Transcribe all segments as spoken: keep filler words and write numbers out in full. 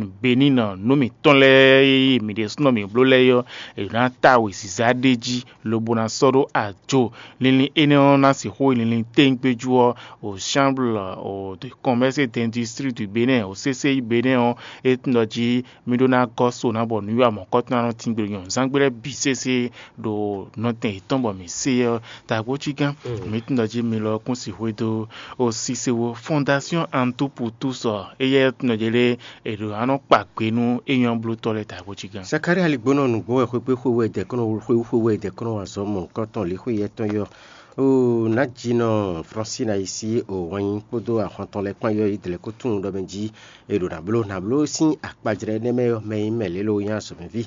Benin nɔ nǔ mǐtɔn lɛ́ɛ e mǐ ɖésúnɔ mǐ bló lɛ́ɛ é ɔ́, è nǎ ta wěziza ɖ'é jí lobo ná sɔ́ ɖó ajo. Linlin énɛ́ ɔ́ ná sixú nyí linlin téńgbé jú ɔ́, o chambre o de commerce et d'industrie du Bénin, o C C I Bénin ɔ́, é tunwun ɖɔ jí mì ɖó ná gɔ́ so ná bɔ nǔwiwa mɔ̌kɔtɔn ná nɔ tíngbé ɖo nyɔ̌nuzángbe lɛ́ɛ bǐ sésé ɖo nɔtɛn yětɔn bɔ mǐ se ɔ́. Tagbócígán, mǐ tunwun ɖɔ jí mi lɔ kún sixú e dó o sisewo Fondation Antu pour tous ɔ́, éyɛ́ tunwun ɖɔ jí lé è ɖo ná nɔ kpa gbe nú é nyɔ́ blótɔ́ lɛ́ɛ tagbócígán. Sakália ligbónɔ nǔgbó wɛ xwé kpé xwe wɛ dɛ̌kɔ́nɔ xwe xwe wɛ dɛ̌kɔ́nɔ wa zɔ́ mɔ̌hunkɔtɔn lě xwe yɛtɔn yɔ. O Najinɔ Fransina yi sí o wɛnyi kpódó ahwan tɔn lɛ́ɛ kpán yɔ yi dlɛ̌ kó tunwun ɖɔ mɛ jí è ɖo nǎ bló nǎ bló sín akpajlɛ́ énɛ́ mɛ ɔ́, mɛ nyí mɛ lě lo nyí azɔ̌mɛví.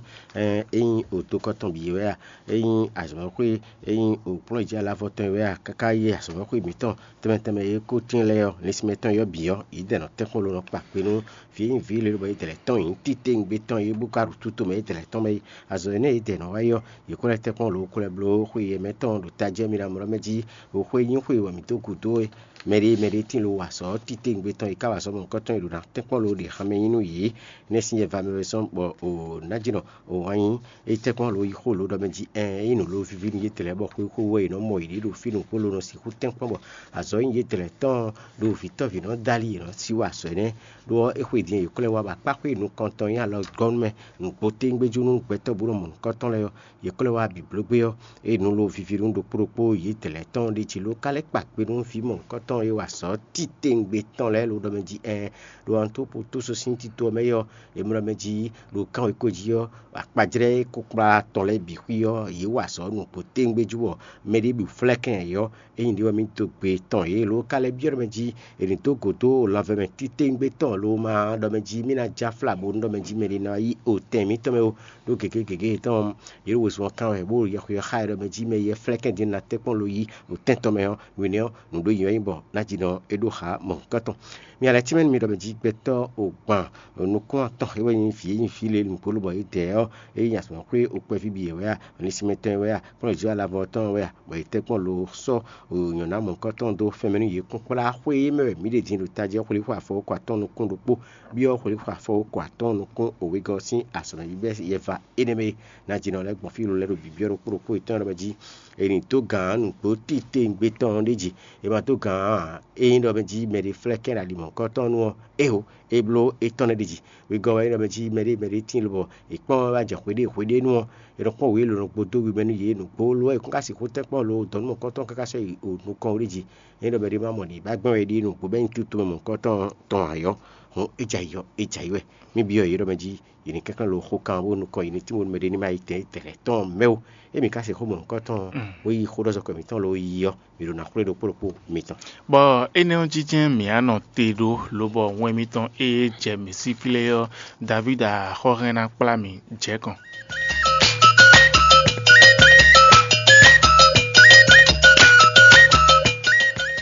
Ényí o dó kɔ́ tɔn bǐ wɛ a, ényí azɔ̌mɛxwé, ényí o kplɔ́njí alavɔ tɔn wɛ a, káká yi azɔ̌mɛxwé mǐtɔn tɛnmɛ tɛnmɛ e ko tín lɛ́ɛ ɔ́, linsinmɛ tɔn yɔ bǐ ɔ́, yě dɛ nɔ tɛ́nkpɔ́n lo nɔ kpa kpe nú vǐ e nyí vǐ lě lobɔ yě dɛ lɛ̌ tɔn nyǐ titewungbe tɔn e bó ka ɖo tuto mɛ yě dɛ lɛ̌ tɔn mɛ é. Azɔ̌ énɛ́ yě dɛ nɔ wa é ɔ́, yě ko lɛ́ tɛ́nkpɔ́n lo ko lɛ́ bló xwe yɛmɛ tɔn ɖo tají ɔ́ mì ɖo amlɔ mɛ jí, ɖo xwe nyí xwe wɛ mǐ dó gǔdo é. Mɛɖé mɛɖé tín lo wa azɔ̌ titewungbe tɔn e ka wa azɔ̌ mɔ̌hunkɔtɔn e ɖo ná tɛ́nkpɔ́n lo ɖe hanmɛ nyi nú yě. Énɛ́ sín yɛ va mɛ wɛ zɔ́n bɔ o Najinɔ o wǎn nyí é tɛ́nkpɔ́n lo yi xó lo ɖɔ mɛ jí ɛɛn é nyí nǔ lo víví nú yětɛn lɛ́ɛ bɔ xwé xó wɛ è nɔ mɔ yě ɖo fí nǔkpó lo nɔ sixú tɛ́nkpɔ́n bɔ azɔ̌ nyi yětɛn lɛ́ɛ tɔn ɖo vǐtɔ́ví nɔ dó ali yě nɔ sí wa azɔ̌ énɛ́. Ɖó ɔ́, é xwedǐn è yi kplɔ́n ɛ wá bɔ akpáxwé nukɔntɔn nyí alɔ gɔ́ nú mɛ nǔgbó téńgbéjú nú gbɛtɔ́ bó nɔ mɔ nǔkɔntɔn lɛ́ɛ ɔ́, yě kplɔ́n ɛ wá bǐblógbé ɔ́, é nǔ lo víví nú ɖokpó ɖokpó yětɛn lɛ́ɛ tɔn ɖ'é jí ló ka lɛ́ kpa kpe nú vǐ mɔ̌hunkɔtɔn e wa azɔ̌ titewungbe tɔn lɛ́ɛ lo ɖɔ mɛ jí ɛɛn ɖo Antopotoso sín tito ɔ́ mɛ é ɔ́, è mlɔ mɛ jí ɖo kánwekó jí ɔ́, akpajlɛ́ e kó kplá tɔn lɛ́ɛ bǐ xwí ɔ́, yě wa azɔ̌ nǔgbó téńgbéjú bɔ mɛɖé bǐ flɛ́ kɛn ayǐ ɔ́, ényí ɖě wɛ mì dó gbe tɔn yě lo ka lɛ́ byɔ́ ɖɔ mɛ jí è nǐ dó gǒ dó lanvɛmɛ titewungbe tɔn lo ma ɖɔ mɛ jí mì ná já fla bónú ɖɔ mɛ jí mɛɖé ná yi otɛn mǐtɔn mɛ ó. Ɖó gěgé gěgé yětɔn ɔ́, yě ɖo wezun ɔ́ kán wɛ bó ɖo yɛxweyɛ́ xá ɛ ɖɔ mɛ jí mɛ yɛ flɛ́ kɛ́n din ná tɛ́nkpɔ́n lo yí ɖo tɛ́n tɔn mɛ ɔ́, nǔ énɛ́ ɔ́, nǔ ɖó nyi wɛ nyí bɔ ná jí nɔ é ɖó xá mɔ̌hunkɔtɔn. Mi alɛ tínmɛ nú mi ɖɔ mɛ jí gbɛtɔ́ o gban nukún atɔn é wɛ nyí vǐ e nyí vǐ lě nǔgbó lobɔ yě dɛ ɔ́, é nyí azɔ̌xwé okpɛví bǐ yě wɛ a, linsinmɛtɔn wɛ a, kplɔ́njǐ alavɔ tɔn wɛ a, bɔ yě tɛ́nkpɔ́n lo sɔ́ nyɔ̌ná mɔ̌hunkɔtɔn dó fɛnmɛ nú yě kún kplá xwé e mɛ wɛ mǐ ɖe din ɖo tají ɔ́ xwlíxwé afɔ ko atɔ́ɔ́n nukún ɖokpó, byɔ́ xwlíxwé afɔ ko atɔ́ɔ́n nukún wegɔ́ sín azɔ̌mɛví bɛ́ yɛva énɛ́ mɛ e. Ná jǐnɔ lɛ́ɛ gbɔn fí lo lɛ́ɛ ɖo bǐbyɔ́ ɖokpó ɖokpó yětɔn lɛ́ɛ mɛ jí. È nǐ dó gǎn nǔgbó titewungbe tɔn ɔ́ ɖ'é jí. È ma dó gǎn ǎ. Ényí ɖɔ mɛ jí mɛɖé flɛ́ kɛ́n ɖo ali mɔ̌hunkɔtɔn nu ɔ́, ého, é bló étɔn lɛ́ɛ ɖ'é jí. Wegɔ́ wɛ é ɖɔ mɛ jí mɛɖé mɛɖé tíin lobɔ è kpɔ́n wɛ wá jɛ hweɖée hweɖée nu ɔ́, è nɔ kpɔ́n wě lǒ nɔ gbo dó wi mɛ nú yě nǔgbó lo wɛ è kún ka sixú tɛ́nkpɔ́n lo dɔ̌n nú mɔ̌hunkɔtɔn káká sɔ́ yi o nukɔn wú ɖ'é jí. Ényí ɖɔ mɛɖé ma mɔ nǐ ba gbɛ́n wɛ ɖíe nǔgbó bɛ́ nyí tutú mɛ mɔ̌hunkɔtɔn tɔn ǎ ɔ́, hǔn é jɛ ayǐ ɔ́, é jɛ ayǐ wɛ. Mí byɔ́ yě ɖɔ mɛ jí yě ní kɛnklɛ́n lo xó kan bó nukɔn yě ní tín bónú mɛɖé ní ma yi tɛn tɛlɛ̌ tɔn mɛ ó. Émí ka se xó mɔ̌hunkɔtɔn bó yi xó ɖɔ zɔkɔ mǐtɔn lo yi ɔ́, mǐ ɖo ná xwlé ɖokpó ɖokpó mitɔn. Bɔ énɛ́ ɔ́ jínjɛ́n mǐ á nɔ te ɖó, lobɔ wɛn mitɔn e jɛ mǐ sí flé ɔ́, Davída xɔ́hɛn ná kplá mì jɛ̌kɔn.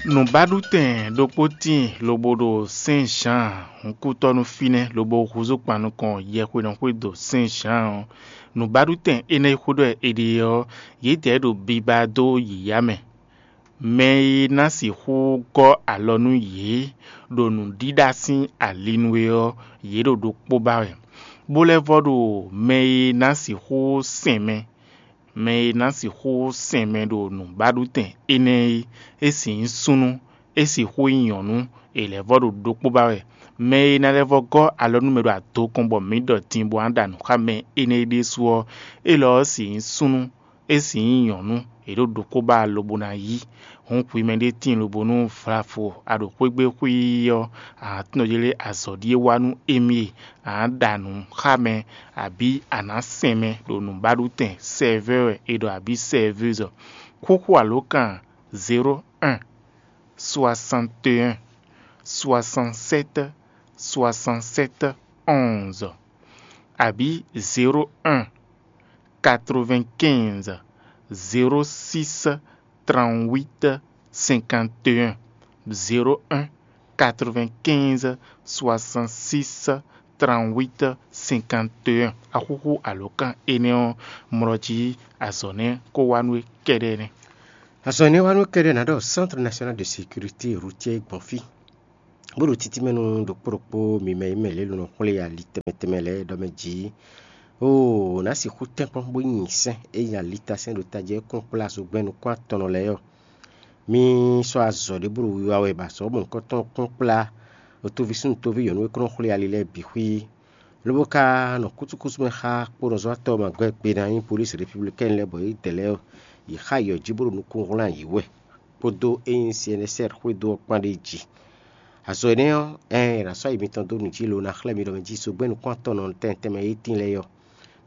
Nǔbáɖutɛn ɖokpó tíin lobo ɖo Sɛ́n Zǎan hǔnkútɔ́ nú fínɛ́ lobo húzú kpan nukɔn yɛhwenɔ xwé do Sɛ́n Zǎan ɔ́. Nǔbáɖutɛn énɛ́ e xwedó wɛ è ɖe ɔ́, yědɛɛ ɖo biba dó yǐyá mɛ. Mɛ e ná sixú gɔ́ alɔ nú yě ɖo nǔɖíɖá sín ali nu é ɔ́, yě ɖo ɖokpó ba wɛ, bó lɛ́ vɔ́ ɖo mɛ e ná sixú sɛn mɛ. Mɛ e ná sixú sɛn mɛ ɖo nǔbáɖutɛn énɛ́ é, é sixú nyí súnnu, é sixú nyí nyɔ̌nu, è lɛ̌ vɔ́ ɖo ɖokpó ba wɛ. Mɛ e ná lɛ́ vɔ́ gɔ́ alɔ nú mɛ ɖo adokɔn bɔ mǐ ɖɔ din bó ná ɖa nǔ xá mɛ énɛ́ é ɖésú ɔ́, élɔ́ ɔ́ sixú nyí súnnu, é sixú nyí nyɔ̌nu, è ɖǒ ɖokpó ba lobo ná yí. Hǔn hwi mɛɖé tíin lobo nú vlavo a ɖo xwé gbe xwíí ɔ́, a nǎ tunwun ɖɔ yě lé azɔ̌ ɖíe wa nú émí e, a nǎ ɖa nǔ xá mɛ, abǐ a nǎ sɛn mɛ ɖo nǔbáɖutɛn sɛvɛ́ wɛ è ɖɔ abǐ sɛvɛ́zɔ. Xúxú alǒkan zéro un, soixante et un, soixante-sept, soixante-sept, onze, abǐ zéro un, quatre-vingt-quinze, zéro six, trente-huit, cinquante et un, zéro un, quatre-vingt-quinze, soixante-six, trente-huit, cinquante et un. Axúxú alǒkan énɛ́ ɔ́ mlɔ jí azɔ̌ nɛ́ kó wá nú we kɛ́ɖɛ́ nɛ́. Azɔ̌ énɛ́ wá nú we kɛ́ɖɛ́ ná ɖɔ Centre National de Sécurité Routière gbɔn fí. Bó ɖo títí mɛ nú ɖokpó ɖokpó mi mɛ e mɛ lě lɔn xwlé ali tɛnmɛ tɛnmɛ lɛ́ɛ ɖɔ mɛ jǐ. Oo, nǎ sixú tɛ́nkpɔ́n bó nyi sɛ́n e nyi alitasɛ́n ɖo tají ɔ́ kɔn kplá zogbɛ́n nukún atɔnnɔ lɛ́ɛ ɔ́. Mi sɔ́ azɔ̌ ɖé bó ɖo wiwa wɛ bɔ azɔ̌ mɔ̌hunkɔtɔn kɔn kplá otoví súnnu toví nyɔ̌nu e kɔn nɔ xwlé ali lɛ́ɛ bǐ xwí, lobo ka nɔ kúsúkúsú mɛ xá kponɔzɔ́watɔ́ magwɛ́ gbe ná nyí polísi repiblikɛ́ni lɛ́ɛ bɔ yědɛɛ lɛ́ɛ ɔ́, yě xa yɔ jí bó ɖo nukún wlán yě wɛ, kpódó e nyí C N S R xwédo ɔ́ kpán ɖ'é jí. Azɔ̌ énɛ́ ɔ́, ɛɛn, è nǎ sɔ́ ayi mitɔn dó nǔ jí lo ná xlɛ́ mi ɖɔ mɛ jí zogbɛ́n nukún atɔn nɔ tɛn tɛnmɛ e tíin lɛ́ɛ ɔ́,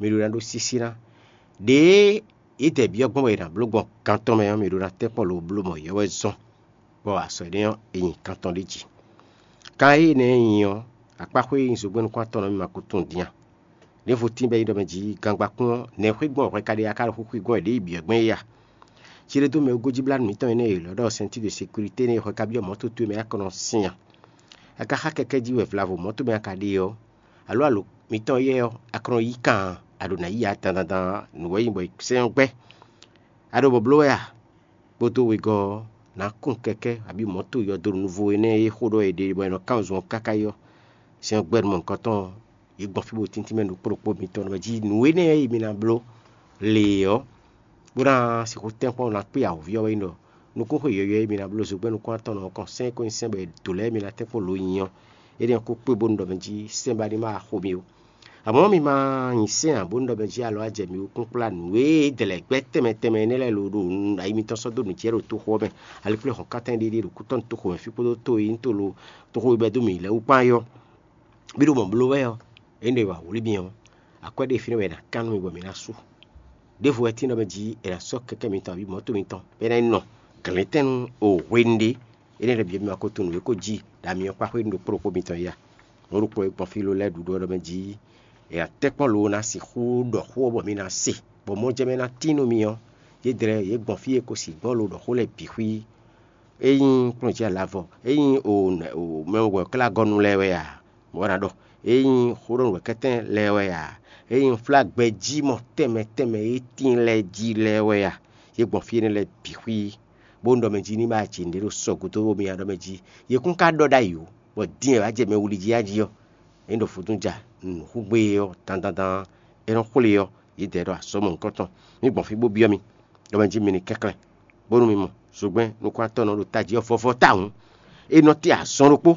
mi ɖó ná ɖó sísí ná. Ɖěe yědɛɛ byɔ́ gbɔn bɔ è nǎ bló gbɔn kan tɔn mɛ ɔ́, mi ɖó ná tɛ́nkpɔ́n lo bló mɔ yɔ́ wɛ zɔ́n, bɔ azɔ̌ énɛ́ ɔ́, è nyi kan tɔn ɖ'é jí. Kan e énɛ́ nyí ɔ́, akpáxwé e nyí zogbɛ́n nukún atɔn nɔ mì ma ko tunwun din a? Ɖěvo tíin bɔ é nyí ɖɔ mɛ jí gangbakún ɔ́, nɛ̌ xwé gbɔn hwɛ ka ɖe a ka ɖo xwixwi gbɔn wɛ ɖě yi byɔ̌ gbɛn é a? Cí ɖé dó mɛ e gosín blánú mǐtɔn énɛ́ e è lɔ̌ ɖɔ sɛntíɖo sekirité énɛ́ e hwɛ ka byɔ́ mɔ̌ towe mɛ akɔnɔ sín a? A ka xá kɛkɛ́ jí wɛ vlavo mɔ̌ towe mɛ a ka ɖe ɔ́, alǒ alo mǐtɔn éyɛ́ ɔ́, akɔnɔ yí kan a? A ɖǒ ná yí ya dandandan nǔ wɛ nyí bɔ è sɛ́n ɔ́ gbɛ́. A ɖo bɔ bló wɛ a? Kpódó wegɔ́ ɔ́, nǎ kun kɛkɛ́ abǐ mɔ̌to yɔdonu vo énɛ́ e xó ɖɔ è ɖe bɔ è nɔ kán zun ɔ́ káká yi ɔ́, sɛ́n ɔ́ gbɛ́ nú mɔ̌hunkɔtɔn ɔ́, yě gbɔn fí bó tíntín mɛ ɖo kpó ɖokpó mitɔn ɖɔ mɛ jí nǔ énɛ́ e mi ná bló lě ɔ́, bó ná sixú tɛ́nkpɔ́n ná kpé awǒvi ɔ́ wɛ nyí ɖɔ nukúnxwe yɔ̌yɔ́ e mi ná bló zogbɛ́n nukún atɔn ɔ́ kɔn sɛ́n e ko nyí sɛ́n bɔ è dǒ lɛ́ɛ mi ná tɛ́nkpɔ́n lo nyi ɔ́, énɛ́ ɔ́ ko kpé bónú ɖɔ mɛ jí sɛ́n ba ní ma xo mi ó. Amɔ̌ mi ma nyi sɛ́n ǎ bónú ɖɔ mɛ jí alɔ wá jɛ mi wú kpúkplá nǔ e dɛ̌ lɛ́ɛ gbɛ́ tɛnmɛ tɛnmɛ énɛ́ lɛ́ɛ lo ɖo ayi mitɔn sɔ́ dó nǔ jɛ ɖo toxo ɔ́ mɛ. Alikplɛ́ hɔn kátɛn ɖéɖé ɖo kútɔ́ toxo mɛ fí kpódó to e nyí to lo toxo e bɛ́ dó mǐ lɛ́ɛ wú kpán é ɔ́, mì ɖo mɔ bló wɛ ɔ́, é ɖo wǎ wlí mì ɔ́, akwɛ́ ɖé fínɛ́ wɛ è nǎ kán nú mì bɔ mǐ ná sú. Ɖěvo wɛ tín ɖɔ mɛ jí è nǎ sɔ́ kɛkɛ́ mitɔn abǐ mɔ̌to mitɔn bɔ é ná yi nɔ glɛ̌ntɛn nú o hwenu ɖé. Énɛ́ lɛ́ɛ bǐ ɔ́, mi ma ko tunwun nǔ e ko jí ɖo ami ɔ́ kpá xwé nú ɖokpó ɖokpó mitɔn yá. Mɔ̌ ɖokpó e gbɔn fí lo lɛ́ɛ ɖuɖu ɔ́ ɖɔ mɛ jí è nǎ tɛ́ kpɔ́n lo ná sixú ɖɔ xó ɔ́ bɔ mi ná se, bɔ mɔjɛmɛ ná tín nú mi ɔ́, yě dlɛ́ yě gbɔn fí e ko sixú gbɔn lo ɖɔ xó lɛ́ɛ bǐ xwí. É nyí kplɔ́njí alavɔ, é nyí o mɛ wɛ̌klágɔ́nu lɛ́ɛ wɛ a? Mɔ̌ ná ɖɔ, é nyí xóɖɔnúwɛkɛ́tɛn lɛ́ɛ wɛ a? É nyí flágbɛjí mɔ tɛnmɛ tɛnmɛ e tíin lɛ́ɛ jí lɛ́ɛ wɛ a? Yě gbɔn fí énɛ́ lɛ́ɛ bǐ xwí, bónú ɖɔ mɛ jí ní ma jǐ nǔɖé ɖo sɔgǔdo bó mi nya ɖɔ mɛ jí. Yě kún ka ɖɔ ɖ'ayǐ ó, bɔ din e wǎ jɛ mɛ wuli jí a jí ɔ́, é ɖo vodún ja nǔxúgbé ɔ́ dandandan é nɔ xwlé ɔ́, yě dɛ ɖɔ azɔ̌ mɔ̌hunkɔtɔn. Mǐ gbɔn fí bó byɔ́ mi, ɖɔ mɛ jí mi ní kɛnklɛ́n, bónú mi mɔ zogbɛ́n nukún-atɔ́ nɔ ɖo tají ɔ́ vɔ́vɔ́ tawun. É nɔ tɛ́ azɔn ɖokpó,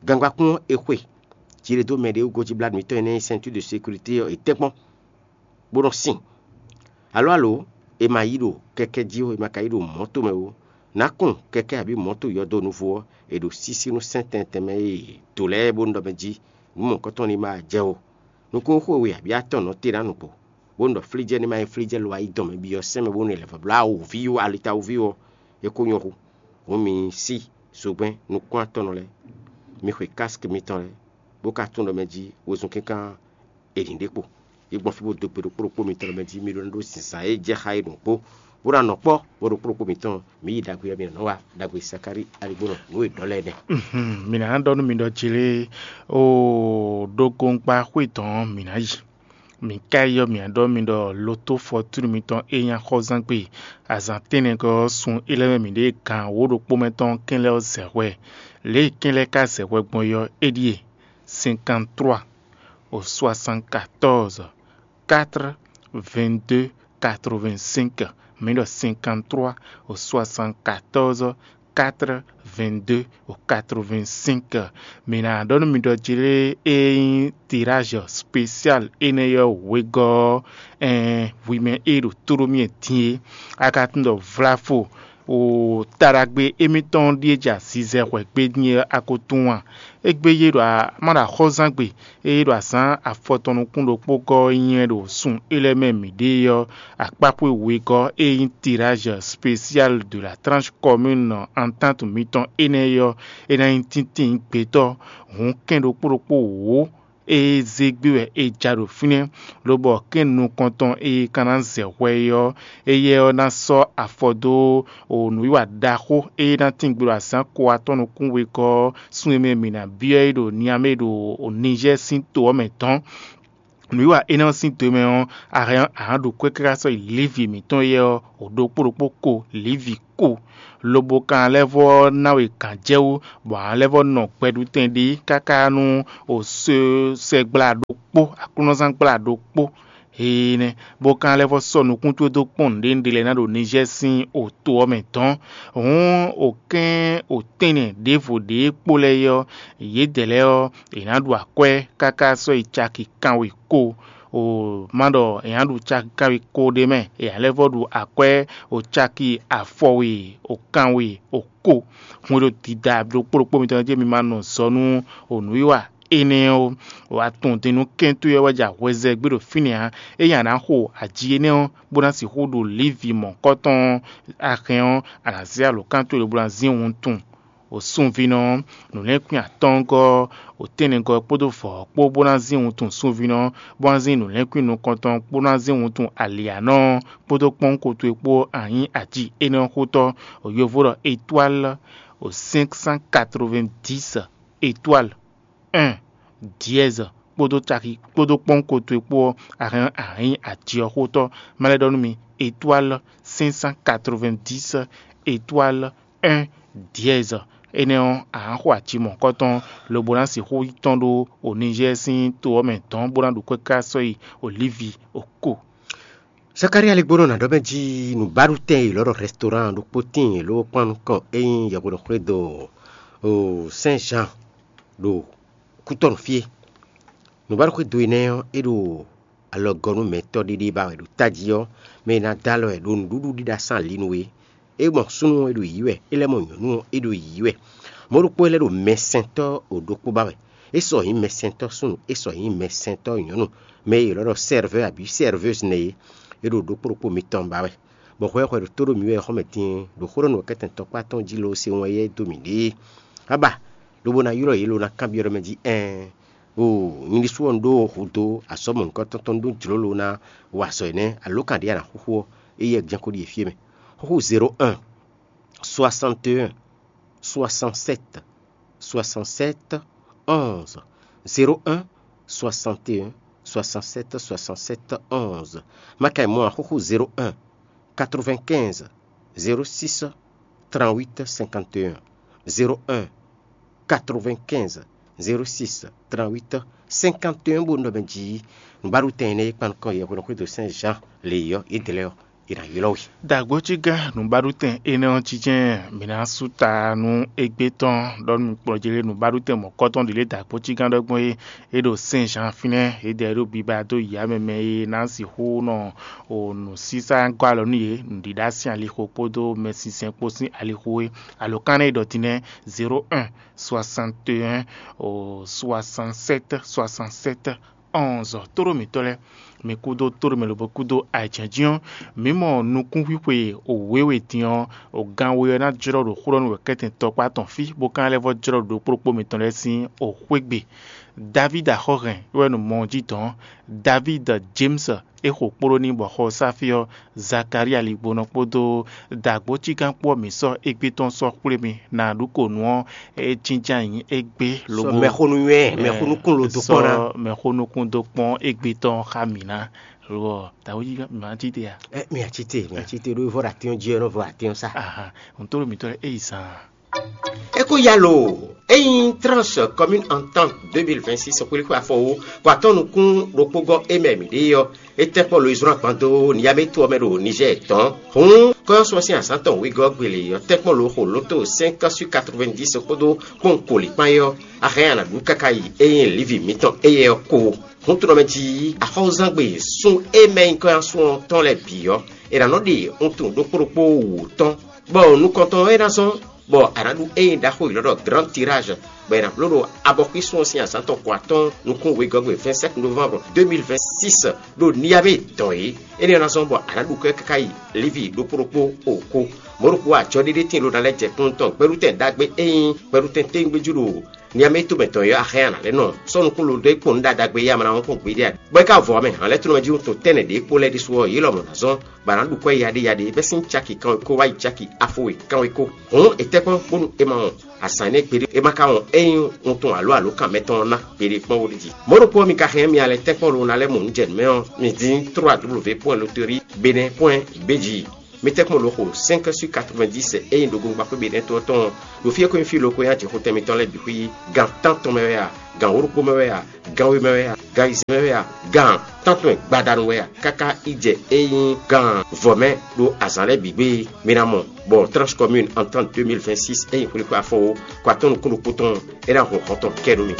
gangbákún ɔ́ è xwe. Jí ɖé dó mɛ ɖé wú gǒjíblánú mǐtɔn e ná nyí ceinture de sécurité ɔ́, è tɛ́ kpɔ́n, bó nɔ sin. Alǒ alǒ, è ma yi ɖo kɛkɛ́ jí ó, è ma ka yi ɖo mɔ̌to mɛ ó. Nǎ kun kɛkɛ́ abǐ mɔ̌to yɔdo nuvo ɔ́, è ɖo sísí nú sɛ́n tɛntɛn mɛ e è dǒ lɛ́ɛ bónú ɖɔ mɛ jí nǔ mɔ̌hunkɔtɔn ní ma jɛ ó. Nukúnxwe we abǐ atɔn nɔ te ná nukpó, bónú ɖɔ flíjɛ́ ní ma nyí flíjɛ́ lo ayidɔn mɛ byɔ́ sɛ́n mɛ bónú è lɛ̌ vɔ bló awǒvi ɔ́, alitawúvi ɔ́, é ko nyɔ́ hu. Hǔn mi sí zogbɛ́n nukún-atɔ́nɔ lɛ́ɛ, mi xwe káski mitɔn lɛ́ɛ, bó ka tunwun ɖɔ mɛ jí wezun kínkan è nǐ ɖe kpo. Yi gbɔn fí bó dó gbe ɖokpó ɖokpó mitɔn ɖɔ mɛ jí mi ɖó ná ɖó zǐnzán e jɛ xá é ɖokpó, bó ná nɔ kpɔ́ bó ɖokpó ɖokpó mitɔn, mi yi ɖagbe ɔ́, mi nɔ nɔ wa ɖagbe Sakári aligbónɔ nǔ e ɖɔ lɛ́ɛ nɛ́. Mhm, mǐ ná ɖɔ nú mi ɖɔ jlé o ɖokɔnkpa xwé tɔn mǐ ná yi. Mǐ ka yi ɔ́, mǐ ná ɖɔ mi ɖɔ loto fɔtúnu mitɔn e nyí axɔ́zán gbe azǎn tɛ́nnɛgɔ́ ɔ́ sun é lɛ́ mɛ mǐ ɖe gan wǒ ɖokpó mɛ tɔn kɛn lɛ́ɛ ɔ́ zɛ hwɛ. Lě e kɛn lɛ́ɛ ka zɛ hwɛ gbɔn é ɔ́, é ɖíe: cinquante-trois au soixante-quatorze quatre-vingt-deux quatre-vingt-cinq. Mǐ ɖɔ cinquante-trois au soixante-quatorze quatre-vingt-deux au quatre-vingt-cinq. Mǐ ná ɖɔ nú mi ɖɔ jlé e nyí tirázi spésial énɛ́ ɔ́ wegɔ́ ɔ́, ɛɛn, hwi mɛ e ɖo tó ɖó mì din é, a ka tunwun ɖɔ vlafo o taɖagbe émítɔn ɖíe jɛ azizɛ hwɛ̌ gbé din é a ko tunwun a? Égbé yě ɖo a ma ɖo axɔ́zán gbe, ée ɖo azǎn afɔtɔn nukún ɖokpó gɔ́ ɔ́ nywɛ́ ɖo sun é lɛ́ɛ mɛ mǐ ɖe é ɔ́, akpáxwé wegɔ́ e nyí tirázi spésial de la tranche commune entente mitɔn énɛ́ é ɔ́, é ná nyí tíntín gbetɔ́ hǔn kɛn ɖokpó ɖokpó wǒ e zé gbé wɛ è ja ɖo fínɛ́, lobɔ kɛ́n nukɔntɔn e ka ná zɛ hwɛ é ɔ́, éyɛ́ ɔ́ ná sɔ́ afɔ dó nǔwiwa ɖaxó e ná tín gbe ɖo azǎn ko atɔ́ nukún wegɔ́ ɔ́, sun e mɛ mǐ ná byɔ́ é ɖo Niamé ɖo Nizɛ́ɛ sín to ɔ́ mɛ dɔ̌n. Nǔwiwa énɛ́ ɔ́ sín do mɛ ɔ́, a hɛn ɔ́, a nǎ ɖu kwɛ́ káká sɔ́ yi Livi mǐtɔn éyɛ́ ɔ́, o ɖokpó ɖokpó ko, Livi ko, lobo kan lɛ́ vɔ́ ná we gǎnjɛwú, bɔ a lɛ́ vɔ́ nɔ gbɛɖutɛn ɖi káká nú o sɛgbla ɖokpó, aklúnɔzán gbla ɖokpó. Énɛ́, bó ka lɛ́ vɔ́ sɔ́ nukún towe dó kpɔ́n nǔɖé nǔɖé lɛ́ɛ ná ɖo Nizɛ́ɛ sín oto ɔ́ mɛ dɔ̌n. Hǔn, okɛ́n otɛ́nnɛ ɖěvo ɖě kpó lɛ́ɛ é ɔ́, yědɛɛ lɛ́ɛ ɔ́, è nǎ ɖu akwɛ́ káká sɔ́ yi caki kanwe ko. O ma ɖɔ è nǎ ɖu caki kanwe ko ɖé mɛ, è nǎ lɛ́ vɔ́ ɖu akwɛ́ o caki afɔwe o kanwe o ko. Hwɛndo dida ɖokpó ɖokpó mitɔn jí mi ma nɔ zɔ nú o nǔwiwa énɛ́ ɔ́, wǎ tunwun din nú kɛ́n towe ɔ́ wɛ ja hwɛzɛ́ gbé ɖo fínɛ́ ǎ. Ényí a nǎ xo aji énɛ́ ɔ́, bó ná sixú ɖu Livi mɔ̌kɔ́tɔn ɔ́, a hɛn ɔ́, a nǎ zé alǒkan towe lobo ná zín wuntun. O sunvínɔ ɔ́, nǔlɛ́nkwín atɔ́ɔ́ngɔ́ ɔ́, o tɛ́nnɛgɔ́ ɔ́ kpódó vɔ̌ ɔ́ kpó bó ná zín wuntun sunvínɔ ɔ́, bó ná zín nǔlɛ́nkwín nukɔntɔn ɔ́ kpó ná zín wuntun alǐanɔ ɔ́ kpódó kpɔ́nwun ko towe kpó anyí aji énɛ́ ɔ́ xótɔ́. O yovo ɖɔ étoile o cinq cent quatre-vingt-dix étoile un dièse kpódó caki kpódó kpɔ́nwun ko towe kpó ɔ́, a hɛn a hɛn nyí aji ɔ́ xótɔ́. Má lɛ́ ɖɔ nú mi, étoile cinq cent quatre-vingt-dix étoile un dièse. Énɛ́ ɔ́, a nǎ xo aci mɔ̌kɔtɔn, lobo ná sixú yi tɔ́n ɖó Onizɛ́ɛ sín to ɔ́ mɛ dɔ̌n, bó ná ɖu kwɛ́ ká sɔ́ yi Olívi oko. Zakalía lɛ́ gbónɔ ná ɖɔ mɛ jí nǔbaɖutɛn e è lɔ̌ ɖɔ rɛstoran ɖokpó tíin ló kpán nukɔn é nyí yɛhweɖɔxwé do Sɛn Zan ɖo kútɔ́nú fí é. Nǔbaɖuxwé do énɛ́ ɔ́, é ɖo alɔgɔ́númɛtɔ́ ɖéɖé ba wɛ ɖo tají ɔ́, mɛ e ná dó alɔ wɛ ɖo nǔɖuɖu ɖíɖá sín ali nu é. É mɔ súnnu ɔ́, é ɖo yǐyí wɛ; é lɛ́ mɔ nyɔ̌nu ɔ́, é ɖo yǐyí wɛ. Mɔ̌ ɖokpó é lɛ́ ɖo mɛsɛntɔ́ ɖokpó ba wɛ. É sɔ nyǐ mɛsɛntɔ́ súnnu, é sɔ nyǐ mɛsɛntɔ́ nyɔ̌nu, mɛ e è lɔ̌ ɖɔ sɛ́rvɛ́ abǐ sɛ́rvɛ́zi nɛ́ é. É ɖo ɖokpó ɖokpó mitɔn ba wɛ, bɔ hwɛ e hwɛ ɖo tó ɖo mǐ wɛ xɔ́mɛ din ɖo xó ɖɔ nǔ kɛ́tɛn tɔkpá tɔn jí loo se wɔn éyɛ́ dó mǐɖée. Abá, lobo ná ylɔ́ yě lo ná kanbyɔ́ ɖɔ mɛ jí ɛɛn, o nyɛ ɖésú ɔ́, un ɖó hudó azɔ̌ mɔ̌hunkɔtɔn tɔn, un ɖó jlǒ lo ná wa azɔ̌ énɛ́, alǒkan ɖě a nǎ xúxú ɔ́, éyɛ́ jɛ́n ko ɖíe fí é mɛ. Xúxú zéro un soixante et un soixante-sept soixante-sept onze, zéro un soixante et un soixante-sept soixante-sept onze. Má ka yi mɔ axúxú zéro un quatre-vingt-quinze zéro six trente-huit cinquante et un, zéro un quatre-vingt-quinze zéro six trente-huit cinquante et un, bó nɔ mɛ jí nǔbaɖutɛn énɛ́ e kpan nukɔn yɛhweɖɔxwé do Sɛn Zan lě ɔ́, yědɛɛ lɛ́ɛ ɔ́, è nǎ ylɔ́ we. Dǎgbócígán nǔbaɖutɛn énɛ́ ɔ́ jínjɛ́n mǐ ná sú ta nú égbé tɔn ɖɔ nú kplɔ́njélé nǔbaɖutɛn mɔ̌kɔ́tɔn ɖě lě dǎgbócígán ɖɔ gbɔn é. É ɖo Sɛn Zan fínɛ́, é ɖɛ ɖó biba dó yǎ mɛ mɛ e ná sixú nɔ o nǔsísá gɔ́ alɔ nú yě, nǔɖiɖa sín alixo kpódó mɛsinsɛn kpó sín alixo é. Alǒkan énɛ́ e ɖɔ din nɛ́: zéro un soixante et un soixante-sept soixante-sept onze. Tóɖó mǐtɔn lɛ́ɛ, mi kúdó tóɖó mɛ lobo kúdó ayǐjɛ́njɛ́n ɔ́, mǐ mɔ nukúnxwíxwe wěwe din ɔ́, o gan we ɔ́ ná jlɔ́ ɖo xó ɖɔ nú wɛ̌kɛ́tɛn tɔkpá tɔn fí, bó ka ná lɛ́ vɔ́ jlɔ́ ɖo ɖokpó ɖokpó mitɔn lɛ́ɛ sín xwé gbe. Davídi axɔ́hɛn é wɛ ɖo mɔ ɔ́ jí dɔ̌n. Davídi James é xo kpló n'i bɔ xɔ ɔ́ sá fí ɔ́, Zakalía ligbonɔ kpódó dǎgbócígán kpó ɔ́, mǐ sɔ́ égbé tɔn sɔ́ xwlé mi. Nǎ ɖu ko nǔ ɔ́, é jínjɔ́n ayǐ égbé lobo mɛxónú nywɛ́, mɛxónú kún lo dó kpɔ́n ná. Sɔ́ mɛxónú kún dó kpɔ́n égbé tɔn xá mǐ ná. Lo ɔ́, dǎgbócígán mǐ ná cí te a? Ɛ, mi ati te, mi ati te ɖó vɔ ɖo atín ɔ́ jí ɔ́, nɔ vɔ atín ɔ́ sá. Aha, ntó mǐtɔn lɛ́ɛ é yi zan. É kó ya lo, é nyí tranche commune entente deux mille vingt-six xwlíxwé afɔwó kɔ atɔ́ nukún ɖokpó gɔ́ é mɛ mǐ ɖe ɔ́, é tɛ́nkpɔ́n lo yi zlɔ́n agban dó Niyamé to ɔ́ mɛ ɖo Nizɛ́ɛ tɔn. Hǔn kɔ́yɔ́sɔ́ sín azǎn tɔn wegɔ́ gbele ɔ́ tɛ́nkpɔ́n lo xo lóto cinq sur quatre-vingt-dix kpódó kpɔ́n koli kpán é ɔ́, a hɛn a nǎ ɖu káká yi é nyí Livi mǐtɔn éyɛ́ ɔ́ kó. Hǔn tunɔ mɛ jí axɔ́zangbe sún é mɛ nyí kɔ́yɔ́sɔ́ tɔn lɛ́ɛ bǐ ɔ́, è nǎ nɔ ɖe wuntun ɖokpó ɖokpó wǔ tɔn, bɔ nukɔntɔn ɔ́ é ná zɔ́n, bɔ a nǎ ɖu ényí ɖaxó yěɖɔ́ ɖɔ Grand Tirage, bɔ è nǎ bló ɖo abɔxwísun ɔ́ sín azǎn tɔn ko atɔ́ɔ́n nukún wegɔ́gbe vingt-sept novembre deux mille vingt-six ɖo Niyabé dɔn é. Énɛ́ ɔ́ ná zɔ́n bɔ a nǎ ɖu kɔ́ ɛ káká yi Livi ɖokpó ɖokpó o kó. Mɔ̌ ɖokpó ajɔɖéɖé tíin ló ná lɛ́ jɛ kúnnu tɔn gbɛɖutɛn ɖagbe e nyí gbɛɖutɛn téngbéjú ɖo niamɛ to mɛ tɔn yɔ axɛ́ a nǎ lɛ́ nɔ sɔ́ nukún lo dó é kpɔ́n nǔ ɖagbe e a ma ná wɔn kpɔ́n gbeɖé a? Bɔ é ka vɔ mɛ hǎn lɛ́ɛ tónú mɛ jí wuntun tɛ́nnɛ ɖě kpó lɛ́ɛ ɖésú ɔ́, yě lɔmɔ̌ ná zɔ́n bɔ a nǎ ɖu kwɛ́ yaɖéyaɖé bɛ́ sín caki kanwekó wá yi caki afo we kanwekó. Hǔn è tɛ́ kpɔ́n bónú è ma wɔn azǎn énɛ́ gbeɖé, é ma ka wɔn ényí wuntun alo alǒkan mɛtɔn ɔ́ ná gbeɖé kpɔ́n wóɖíji. Mɔ̌ ɖokpó ɔ́, mi ka hɛn mì alɛ tɛ́nkpɔ́n lo ná lɛ́ mɔ nǔ jɛ nǔ mɛ ɔ́, mi dín trois w point bénin point b g. Mi tɛ́nkpɔ́n lo xo cinq sur quatre-vingt-dix ényí ɖo gungba xwé Benɛ́ to ɔ́ tɔn ɔ́, ɖo fí e ko nyí fí lo ko nyí ajixotɛn mitɔn lɛ́ɛ bǐ xwí, gan tántɔn mɛ wɛ a, gan wǒ ɖokpó mɛ wɛ a, gan we mɛ wɛ a, gan ayizɛ́n mɛ wɛ a, gan tántɔn gbadanu wɛ a, káká yi jɛ e nyí gan vɔ̌ mɛ ɖo azǎn lɛ́ɛ bǐ gbe. Mi ná mɔ bɔ Tranche Commune en temps deux mille vingt-six e nyí xwlixwé afɔwo, kɔ atɔ́ nukún ɖokpó tɔn, é ná hun xɔ tɔn kɛ nú mi.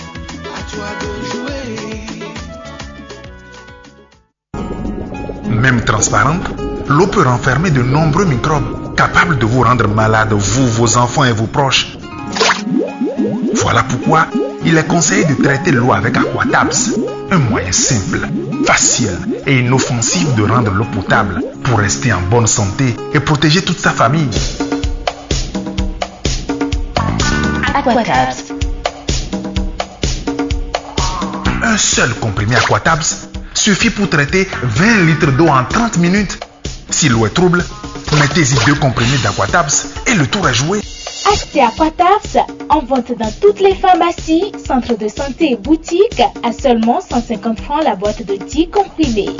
Même transparente, l'eau peut renfermer de nombreux microbes capables de vous rendre malade, vous, vos enfants et vos proches. Voilà pourquoi il est conseillé de traiter l'eau avec Aquatabs. Un moyen simple, facile et inoffensif de rendre l'eau potable pour rester en bonne santé et protéger toute sa famille. Aquatabs. Un seul comprimé Aquatabs suffit pour traiter vingt litres d'eau en trente minutes. Si l'eau est trouble, mettez-y deux comprimés d'Aquatabs et le tour est joué. Achetez Aquatabs en vente dans toutes les pharmacies, centres de santé et boutiques à seulement cent cinquante francs la boîte de dix comprimés.